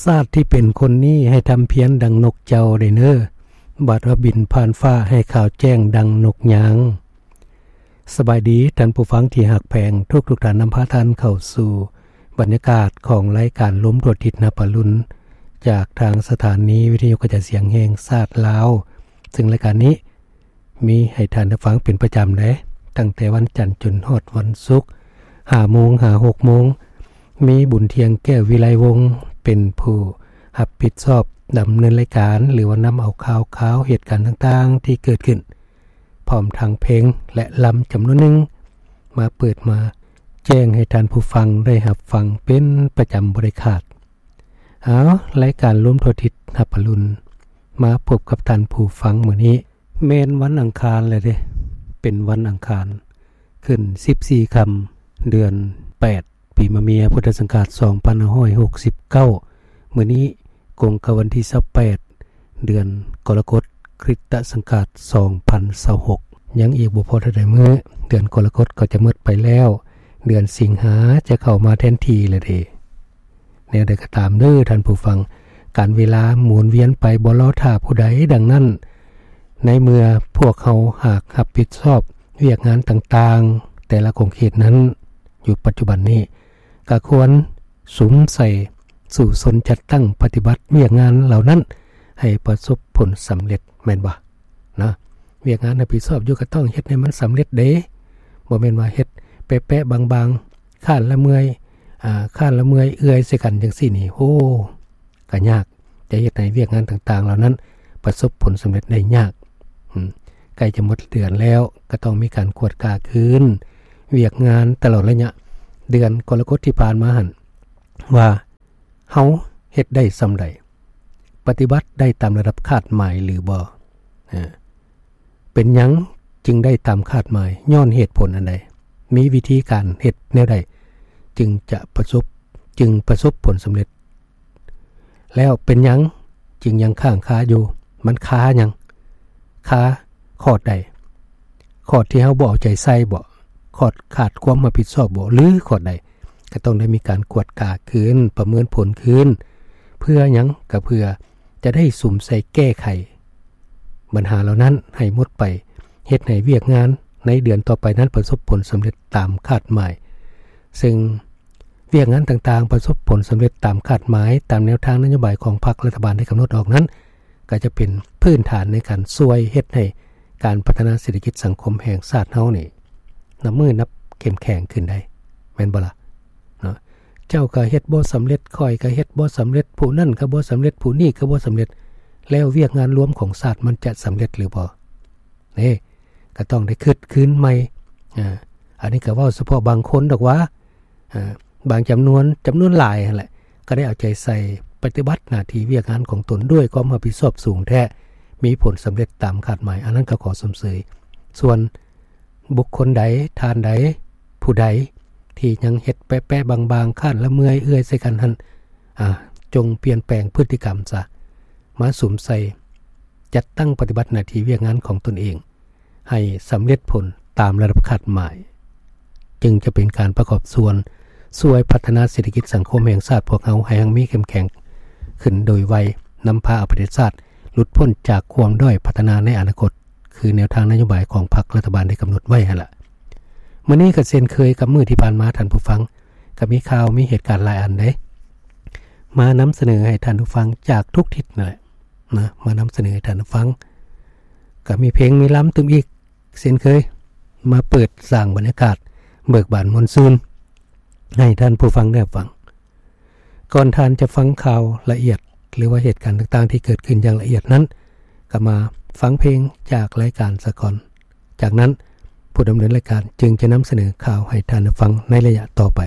ຊາດທີ່ເປັນຄົນນີ້ໃຫ້ທຳພຽນດັ່ງນົກເຈົ້າໄດ້ເນີ, ບາດວ່າບິນຜ່ານຟ້າໃຫ້ຂາວແຈ້ງດັ່ງນົກຍາງ. ສະບາຍດີທ່ານຜູ້ຟັງທີ່ຮັກແພງ, ທຸກໆທ່ານນຳພາທ່ານເຂົ້າສູ່ບັນຍາກາດຂອງລາຍການລົມທົ່ວທິດຮັບອະລຸນ ຈາກທາງສະຖານີວິທະຍຸກະຈາຍສຽງແຫ່ງຊາດລາວ, ເຊິ່ງລາຍການນີ້ ມີໃຫ້ທ່ານໄດ້ຟັງເປັນປະຈຳເດ້, ຕັ້ງແຕ່ວັນຈັນຈົນຮອດວັນສຸກ ຫ້າໂມງຫາຫົກໂມງ. ມີບຸນທ່ຽງແກ້ວວິໄລວົງ ເປັນຜູ້ຮັບຜິດຊອບດຳເນີນລາຍການ ຫຼືວ່ານຳເອົາຂ່າວຄາວເຫດການຕ່າງໆທີ່ເກີດຂຶ້ນ ພ້ອມທັງເພງ ແລະ ລຳຈຳນວນໜຶ່ງ ມາເປີດມາແຈ້ງໃຫ້ທ່ານຜູ້ຟັງໄດ້ຮັບຟັງເປັນປະຈຳບໍ່ໄດ້ຂາດ. ເອົາ, ລາຍການລົມທົ່ວທິດຮັບອະລຸນ ມາພົບກັບທ່ານຜູ້ຟັງມື້ນີ້ ແມ່ນວັນອັງຄານແລ້ວເດ້, ເປັນວັນອັງຄານ ຂຶ້ນສິບສີ່ຄ່ຳ ເດືອນແປດ ປີມະເມຍ ພຸດທະສັງກາດສອງພັນຫ້າຮ້ອຍຫົກສິບເກົ້າ. ມື້ນີ້ກົງກັບວັນທີຊາວແປດ ເດືອນກໍລະກົດ ຄຣິສຕະສັງກາດສອງພັນຊາວຫົກ. ຍັງອີກບໍ່ພໍເທົ່າໃດມື້ ເດືອນກໍລະກົດກໍຈະໝົດໄປແລ້ວ, ເດືອນສິງຫາຈະເຂົ້າມາແທນທີ່ແລ້ວເດ້. ແນວໃດກໍຕາມເດີທ່ານຜູ້ຟັງ, ການເວລາໝູນວຽນໄປບໍ່ລໍຖ້າຜູ້ໃດ. ດັ່ງນັ້ນ, ໃນເມື່ອພວກເຮົາຫາກຮັບຜິດຊອບວຽກງານຕ່າງໆ ແຕ່ລະຂົງເຂດນັ້ນຢູ່ປັດຈຸບັນນີ້, ກໍຄວນສຸມໃສ່ສູ້ຊົນຈັດຕັ້ງປະຕິບັດວຽກງານເຫຼົ່ານັ້ນໃຫ້ປະສົບຜົນສຳເລັດ, ແມ່ນບໍ່? ນະ, ວຽກງານຮັບຜິດຊອບຢູ່ກໍຕ້ອງເຮັດໃຫ້ມັນສຳເລັດເດ້. ບໍ່ແມ່ນວ່າເຮັດແປະໆບາງໆ, ຄ້ານລະເມື່ອຍ, ອາ, ຄ້ານລະເມື່ອຍເອື້ອຍໃສ່ກັນຈັ່ງຊີ້ນີ້, ໂອ້, ກໍຍາກ, ຈະເຮັດໃຫ້ວຽກງານຕ່າງໆເຫຼົ່ານັ້ນປະສົບຜົນສຳເລັດໄດ້ຍາກ. ອືມ, ໃກ້ຈະໝົດເດືອນແລ້ວ, ກໍຕ້ອງມີການກວດກາຄືນວຽກງານຕະຫຼອດໄລຍະເດືອນກໍລະກົດທີ່ຜ່ານມາຫັ້ນ ວ່າ ເຮົາເຮັດໄດ້ສ່ຳໃດ? ປະຕິບັດໄດ້ຕາມລະດັບຄາດໝາຍຫຼືບໍ່? ເປັນຫຍັງຈຶ່ງໄດ້ຕາມຄາດໝາຍ? ຍ້ອນເຫດຜົນອັນໃດ? ມີວິທີການເຮັດແນວໃດຈຶ່ງຈະປະສົບ, ຈຶ່ງປະສົບຜົນສຳເລັດ? ແລ້ວເປັນຫຍັງຈຶ່ງຍັງຄ້າງຄາຢູ່? ມັນຄາຫຍັງ? ຄາ ຂອດໃດ? ຂອດທີ່ເຮົາບໍ່ເອົາໃຈໃສ່ບໍ? ຂອດຂາດຄວາມຮັບຜິດຊອບບໍ? ຫຼື ຂອດໃດ? ກໍຕ້ອງໄດ້ມີການກວດກາຄືນ, ປະເມີນຜົນຄືນ. ເພື່ອຫຍັງ? ກໍເພື່ອຈະໄດ້ສຸມໃສ່ແກ້ໄຂບັນຫາເຫຼົ່ານັ້ນໃຫ້ໝົດໄປ, ເຮັດໃຫ້ວຽກງານໃນເດືອນຕໍ່ໄປນັ້ນປະສົບຜົນສຳເລັດຕາມຄາດໝາຍ. ເຊິ່ງ ວຽກງານຕ່າງໆປະສົບຜົນສຳເລັດຕາມຄາດໝາຍ, ຕາມແນວທາງນະໂຍບາຍຂອງພັກລັດຖະບານໄດ້ກຳນົດອອກນັ້ນ, ກໍຈະເປັນພື້ນຖານໃນການຊ່ວຍເຮັດໃຫ້ການພັດທະນາເສດຖະກິດສັງຄົມແຫ່ງຊາດເຮົານີ້ ນັບມື້ນັບເຂັ້ມແຂງຂຶ້ນໄດ້, ແມ່ນບໍ່ລະ? ເນາະ, ເຈົ້າກໍເຮັດບໍ່ສຳເລັດ, ຂ້ອຍກໍເຮັດບໍ່ສຳເລັດ, ຜູ້ນັ້ນກໍບໍ່ສຳເລັດ, ຜູ້ນີ້ກໍບໍ່ສຳເລັດ, ແລ້ວວຽກງານລວມຂອງຊາດມັນຈະສຳເລັດຫຼືບໍ່? ເດ້, ກໍຕ້ອງໄດ້ຄິດຄືນໃໝ່. ອາ, ອັນນີ້ກໍເວົ້າສະເພາະບາງຄົນດອກວ່າ, ອາ, ບາງຈຳນວນ, ຈຳນວນຫຼາຍຫັ້ນແຫຼະ, ກໍໄດ້ເອົາໃຈໃສ່ປະຕິບັດໜ້າທີ່ວຽກງານຂອງຕົນດ້ວຍຄວາມຮັບຜິດຊອບສູງແທ້, ມີຜົນສຳເລັດຕາມຄາດໝາຍ, ອັນນັ້ນກໍຂໍຊົມເຊີຍ. ສ່ວນບຸກຄົນໃດ, ທ່ານໃດ, ຜູ້ໃດທີ່ຍັງເຮັດແປະໆບາງໆ, ຄ້ານລະເມື່ອຍເອື້ອຍໃສ່ກັນຫັ້ນ, ອາ, ຈົ່ງປ່ຽນແປງພຶດຕິກຳຊະ, ມາສຸມໃສ່ ຈັດຕັ້ງປະຕິບັດໜ້າທີ່ວຽກງານຂອງຕົນເອງໃຫ້ສຳເລັດຜົນຕາມລະດັບຄາດໝາຍ, ຈຶ່ງຈະເປັນການປະກອບສ່ວນຊ່ວຍພັດທະນາເສດຖະກິດສັງຄົມແຫ່ງຊາດພວກເຮົາໃຫ້ຮັ່ງມີເຂັ້ມແຂງຂຶ້ນໂດຍໄວ, ນຳພາເອົາປະເທດຊາດຫຼຸດພົ້ນຈາກຄວາມດ້ອຍພັດທະນາໃນອະນາຄົດ, ຄືແນວທາງນະໂຍບາຍຂອງພັກລັດຖະບານໄດ້ກຳນົດໄວ້ຫັ້ນລະ. ມື້ນີ້ກໍເຊັ່ນເຄີຍກັບມື້ທີ່ຜ່ານມາ, ທ່ານຜູ້ຟັງ, ກໍມີຂ່າວ, ມີເຫດການຫຼາຍອັນເດ້ ມານຳສະເໜີໃຫ້ທ່ານຜູ້ຟັງຈາກທຸກທິດນັ້ນແຫຼະ. ນະ, ມານຳສະເໜີໃຫ້ທ່ານໄດ້ຟັງ. ກໍມີເພງມີລຳຕື່ມອີກເຊັ່ນເຄີຍ, ມາເປີດສ້າງບັນຍາກາດເບີກບານມ່ວນຊື່ນໃຫ້ທ່ານຜູ້ຟັງໄດ້ຮັບຟັງ. ກ່ອນທ່ານຈະຟັງຂ່າວລະອຽດ ຫຼືວ່າເຫດການຕ່າງໆທີ່ເກີດຂຶ້ນຢ່າງລະອຽດນັ້ນ, ກໍມາຟັງເພງຈາກລາຍການສາກ່ອນ. ຈາກນັ້ນ, ຜູ້ດຳເນີນລາຍການຈຶ່ງຈະນຳສະເໜີຂ່າວໃຫ້ທ່ານໄດ້ຟັງໃນໄລຍະຕໍ່ໄປ.